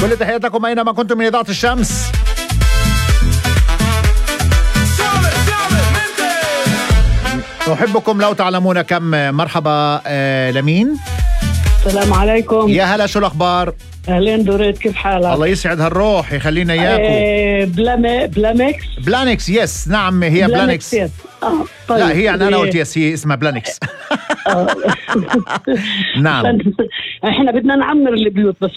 كل تحياتكم أينما كنتم من إذاعة الشمس. أحبكم لو تعلمون كم. مرحبا لمين؟ السلام عليكم. يا هلا، شو الأخبار؟ أهلين دوريت، كيف حالك؟ الله يسعد هالروح، يخلينا إياكم. بلانكس يس، نعم هي بلانكس. طيب. لا هي يعني أنا قلت يس، هي اسمها بلانكس. نعم. احنا بدنا نعمر البيوت، بس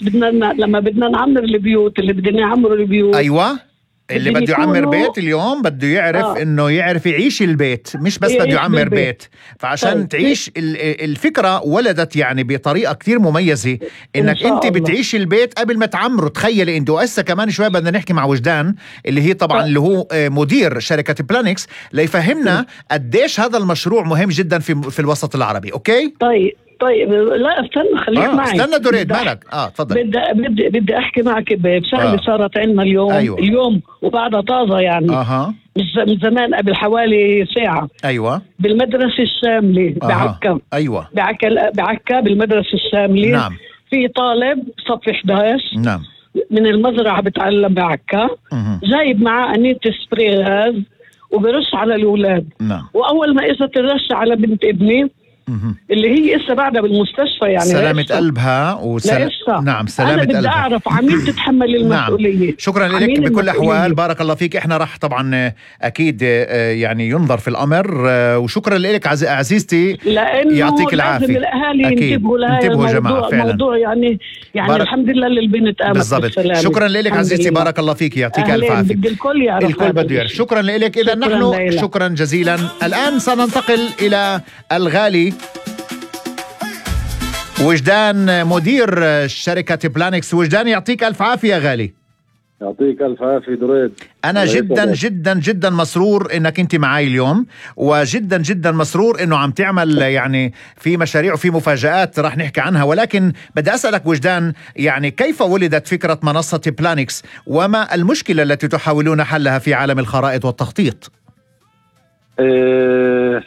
لما بدنا نعمر البيوت اللي بدنا نعمر البيوت. أيوة، اللي بده يعمر بيت اليوم بده يعرف انه يعرف يعيش البيت، مش بس بده يعمر بيت. فعشان طيب. تعيش الفكرة ولدت يعني بطريقة كتير مميزة انك انت بتعيش البيت قبل ما تعمره. تخيلي انت. وهسه كمان شوي بدنا نحكي مع وجدان اللي هي طبعا اللي هو مدير شركة بلانكس ليفهمنا قديش هذا المشروع مهم جدا في الوسط العربي. اوكي طيب لا استنى، خليك معي. استنى دوريد، مالك؟ تفضل. بدي احكي معك بشغله صارت عندنا اليوم. أيوة. اليوم وبعدها طازه يعني. من زمان، قبل حوالي ساعه. ايوه. بالمدرسه الشامله بعكا. ايوه. بعكا بالمدرسه الشامله. نعم. في طالب صف 11. نعم. من المزرعه بتعلم بعكا. جايب معاه انية سبراي غاز وبرش على الاولاد. نعم. واول ما اجت الرشه على بنت ابني اللي هي إسا بعدها بالمستشفى، يعني سلامة قلبها نعم، سلامة قلبها. أنا بدي أعرف عمين تتحمل المسؤولية. نعم. شكرا لك بكل الأحوال، بارك الله فيك. إحنا رح طبعا أكيد يعني ينظر في الأمر، وشكرا لك عزيزتي، يعطيك العافية. لازم الأهالي ينتبهوا جماعة فعلا. موضوع يعني الحمد لله اللي البنت قامت بالسلامة. شكرا لك عزيزتي، بارك الله فيك، يعطيك الف عافية. الكل يعرف، الكل بده يعرف. شكرا لك. إذا نحن شكرا جزيلا. الآن سننتقل إلى الغالي وجدان، مدير شركة بلانكس. وجدان يعطيك ألف عافية غالي. يعطيك ألف عافية دريد. أنا جدا جدا جدا مسرور إنك أنت معاي اليوم، وجدا جدا مسرور إنه عم تعمل يعني في مشاريع وفي مفاجآت رح نحكي عنها. ولكن بدي أسألك وجدان، يعني كيف ولدت فكرة منصة بلانكس، وما المشكلة التي تحاولون حلها في عالم الخرائط والتخطيط؟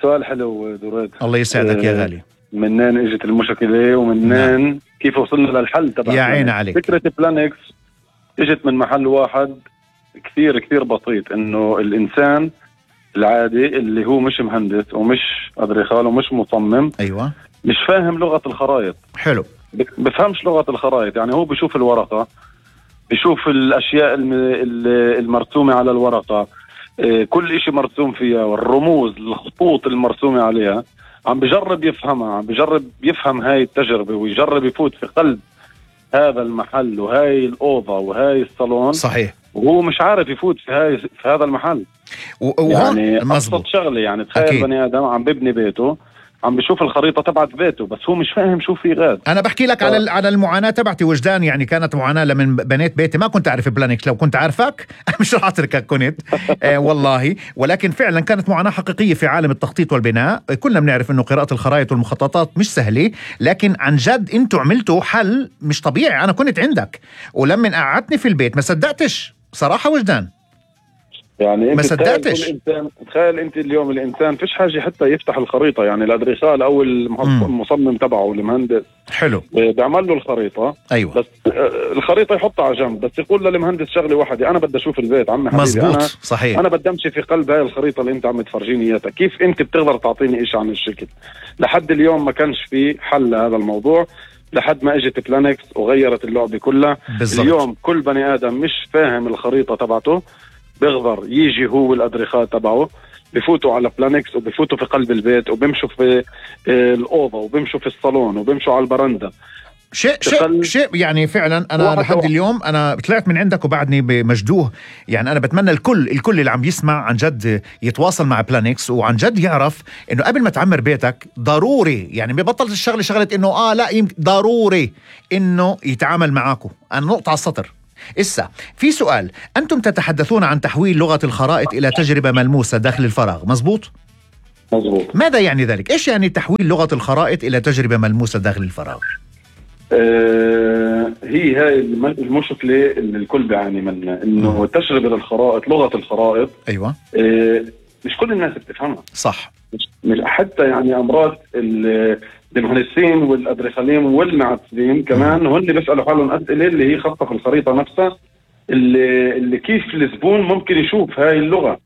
سؤال حلو دريد. الله يسعدك يا غالي. منين اجت المشكلة ومنين كيف وصلنا للحل تبع يا عين عليك. فكرة بلانكس اجت من محل واحد كثير كثير بسيط، انه الانسان العادي اللي هو مش مهندس ومش ادريخال ومش مصمم، ايوه، مش فاهم لغة الخرائط. حلو. بفهمش لغة الخرائط، يعني هو بيشوف الورقة، بيشوف الاشياء المرسومة على الورقة، كل اشي مرسوم فيها، والرموز الخطوط المرسومة عليها، عم بجرب يفهمها، عم بجرب يفهم هاي التجربة، ويجرب يفوت في قلب هذا المحل وهاي الأوضة وهاي الصالون. صحيح. وهو مش عارف يفوت في هذا المحل. يعني أبسط شغلة، يعني تخيل بني آدم عم ببني بيته، عم بشوف الخريطة تبعت بيته، بس هو مش فاهم شو في غاد. أنا بحكي لك على المعاناة تبعتي وجدان. يعني كانت معاناة لمن بنيت بيتي. ما كنت أعرف بلانكس، لو كنت عارفك مش رح أتركك كنت والله. ولكن فعلا كانت معاناة حقيقية في عالم التخطيط والبناء. كلنا بنعرف إنه قراءة الخرائط والمخططات مش سهلة، لكن عن جد أنتوا عملتوا حل مش طبيعي. أنا كنت عندك ولما قعدتني في البيت ما صدقتش صراحة وجدان، يعني ما صدقتش. تخيل انت اليوم الانسان فيش حاجه حتى يفتح الخريطه، يعني الادريسال او المصمم تبعه المهندس حلو بيعمل له الخريطه. ايوه. بس الخريطه يحطها على جنب، بس يقول للمهندس شغله واحده، انا بدي اشوف البيت عمي حبيبي. مزبوط. صحيح. انا بدي امشي في قلب هاي الخريطه اللي انت عم تفرجيني اياها. كيف انت بتقدر تعطيني شيء عن الشكل؟ لحد اليوم ما كانش في حل لهذا الموضوع، لحد ما اجت بلانكس وغيرت اللعبه كلها. بالزبط. اليوم كل بني ادم مش فاهم الخريطه تبعته بيقدر يجي هو الادريخال تبعه، بفوتوا على بلانكس وبفوتوا في قلب البيت وبمشوا في الأوضة وبمشوا في الصالون وبمشوا على البرندة. شيء يعني فعلا. أنا لحد اليوم أنا طلعت من عندك وبعدني بمجدوه. يعني أنا بتمنى الكل اللي عم يسمع عن جد يتواصل مع بلانكس، وعن جد يعرف إنه قبل ما تعمر بيتك ضروري، يعني ببطل شغلة إنه لا ضروري إنه يتعامل معاكم. أنا نقطة على السطر. إسا في سؤال، أنتم تتحدثون عن تحويل لغة الخرائط إلى تجربة ملموسة داخل الفراغ، مزبوط؟ مزبوط. ماذا يعني ذلك؟ إيش يعني تحويل لغة الخرائط إلى تجربة ملموسة داخل الفراغ؟ هاي المشكلة اللي الكل بيعاني منها، إنه تجربة الخرائط، لغة الخرائط. أيوة. مش كل الناس بتفهمها. صح. مش حتى يعني امراض المهندسين والادريسالين والمعسلين كمان هن بيسالوا حالهم اسئله اللي هي خاصه في الخريطه نفسها، اللي كيف الزبون ممكن يشوف هاي اللغه.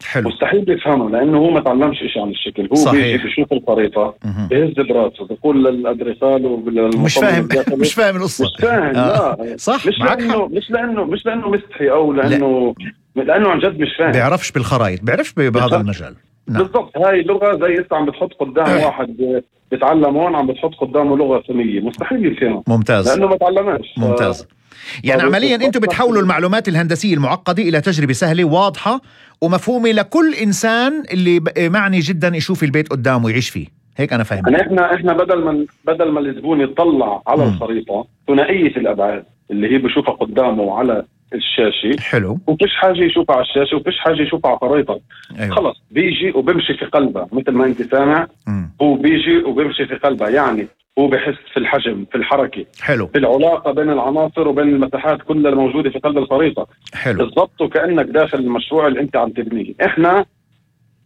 حلو. مستحيل يفهمه لانه هو ما تعلمش شيء عن الشكل، هو بيجي بيشوف الخريطه بيهز براسه بيقول للادريسال مش فاهم مش فاهم القصه، مش فاهم. لا صح، مش لانه مستحي او لانه عن جد مش فاهم، بيعرفش بالخرائط، بيعرفش بهذا المجال. بالضبط. هاي اللغه زي انت عم بتحط قدام واحد بيتعلم هون، عم بتحط قدامه لغه ثانيه، مستحيل يفهمها. ممتاز. لانه ما تعلمهاش. ممتاز. يعني عمليا انتم بتحولوا المعلومات الهندسيه المعقده الى تجربه سهله واضحه ومفهومه لكل انسان اللي معني جدا يشوف البيت قدامه ويعيش فيه. هيك انا فاهم. يعني احنا بدل ما الزبون يطلع على الخريطه ثنائيه الابعاد اللي هي بشوفها قدامه على الشاشه، حلو، وفيش حاجه يشوفها على الشاشه وفيش حاجه يشوفها على الخريطه. أيوة. خلص بيجي وبمشي في قلبه مثل ما انت سامع. هو بيجي وبمشي في قلبه، يعني هو بحس في الحجم، في الحركه، حلو، في العلاقه بين العناصر وبين المساحات كلها الموجوده في قلب الخريطه. حلو، بالضبط، وكانك داخل المشروع اللي انت عم تبنيه. احنا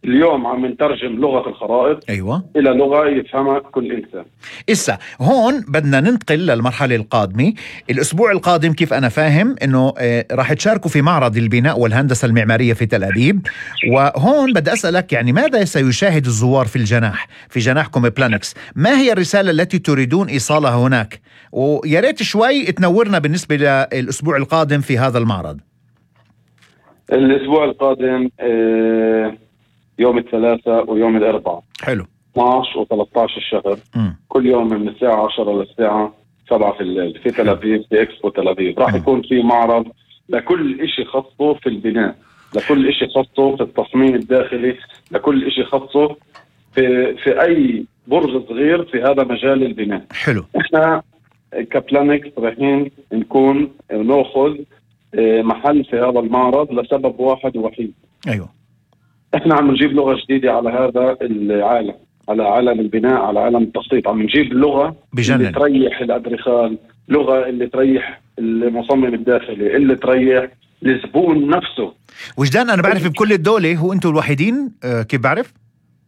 اليوم عم نترجم لغه الخرائط ايوه الى لغه يفهمها كل انسان. إسا هون بدنا ننتقل للمرحله القادمه. الاسبوع القادم كيف انا فاهم انه راح تشاركوا في معرض البناء والهندسه المعماريه في تل ابيب، وهون بدي اسالك يعني ماذا سيشاهد الزوار في جناحكم بلانكس؟ ما هي الرساله التي تريدون ايصالها هناك؟ ويا ريت شوي تنورنا بالنسبه للاسبوع القادم في هذا المعرض. الاسبوع القادم يوم الثلاثاء ويوم الاربعاء. حلو. 12 و13 الشهر. كل يوم من الساعة 10 للساعة 7 في الليل في تل أبيب، في إكسبو تل أبيب. راح يكون في معرض لكل إشي خاصه في البناء، لكل إشي خاصه في التصميم الداخلي، لكل إشي خاصه في أي برج صغير في هذا مجال البناء. حلو. إحنا كبلانكس رايحين نكون نأخذ محل في هذا المعرض لسبب واحد ووحيد. أيوه. إحنا عم نجيب لغة جديدة على هذا العالم، على عالم البناء، على عالم التخطيط. عم نجيب لغة اللي تريح الأدريخال، لغة اللي تريح المصمم الداخلي، اللي تريح الزبون نفسه. وجدان أنا بعرف بكل الدولة هو أنتوا الوحيدين، كيف بعرف؟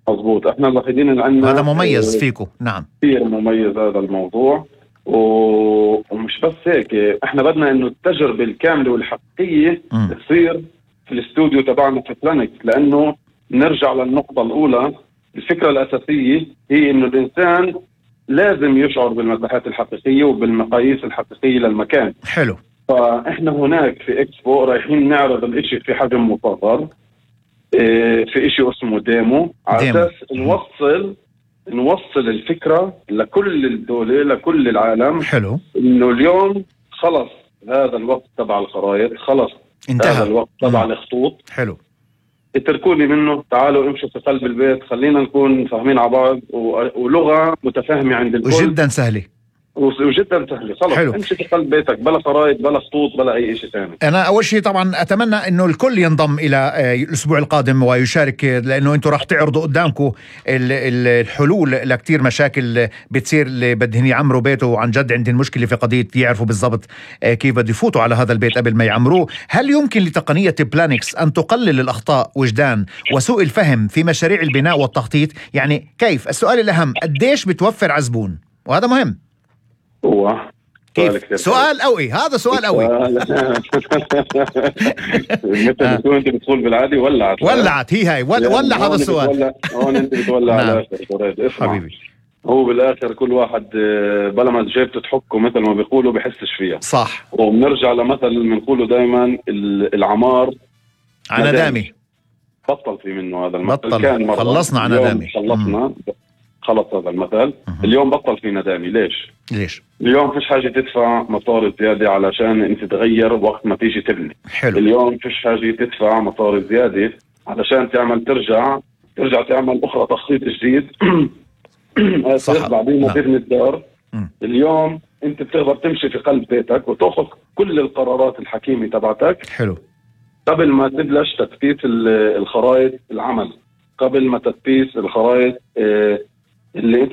مضبوط، إحنا الوحيدين اللي عندنا. هذا مميز فيكم. نعم كثير مميز هذا الموضوع. ومش بس هيك، إحنا بدنا إنه التجربة الكاملة والحقيقية تصير في الاستوديو تبعنا في بلانكس، لأنه نرجع للنقطة الأولى. الفكرة الأساسية هي إنه الإنسان لازم يشعر بالمساحات الحقيقية وبالمقاييس الحقيقية للمكان. حلو. فإحنا هناك في إكسبو رايحين نعرض الإشي في حجم مصغر، في إشي اسمه ديمو، على أساس نوصل الفكرة لكل الدولة، لكل العالم. حلو. إنه اليوم خلص هذا الوقت تبع الخرائط، خلص انتهى هذا الوقت تبع الخطوط. حلو. اتركوني منه، تعالوا امشوا في قلب البيت، خلينا نكون فاهمين على بعض ولغة متفاهمة عند الكل وجدا سهلة. وجدا سهلة. خلص امشي في قلب بيتك، بلا خرائط، بلا خطوط، بلا اي شيء ثاني. انا اول شيء طبعا اتمنى انه الكل ينضم الى الاسبوع القادم ويشارك، لانه انتم راح تعرضوا قدامكم الحلول لكتير مشاكل بتصير اللي بدهم يعمروا بيته وعن جد عندهم مشكله في قضيه يعرفوا بالضبط كيف بده يفوتوا على هذا البيت قبل ما يعمروه. هل يمكن لتقنيه بلانكس ان تقلل الاخطاء وجدان وسوء الفهم في مشاريع البناء والتخطيط؟ يعني كيف؟ السؤال الاهم، قديش بتوفر على زبون؟ وهذا مهم. هو كيف؟ سؤال قوي، هذا سؤال قوي. مثل بتقول انت بتقول بالعادي ولعت هي ولع هذا السؤال. هون انت بتولع على حبيبي. هو بالاخر كل واحد بلا ما جيبته تحكه مثل ما بيقولوا بحسش فيها. صح. وبنرجع لمثل بنقوله دائما، العمار ندامي. بطل في منه هذا المثل. كان مرة خلصنا ندامي. خلص هذا المثل. اليوم بطل في ندامي. ليش؟ اليوم فيش حاجة تدفع مصاري زيادة علشان انت تغير وقت ما تيجي تبني. حلو. اليوم فيش حاجة تدفع مصاري زيادة علشان ترجع تعمل أخرى تخطيط جديد. صح. بعدين ما تبني الدار. اليوم انت بتقدر تمشي في قلب بيتك وتأخذ كل القرارات الحكيمة تبعتك. حلو. قبل ما تبلش تثبيت الخرائط العمل، قبل ما تثبيت الخرائط اللي انت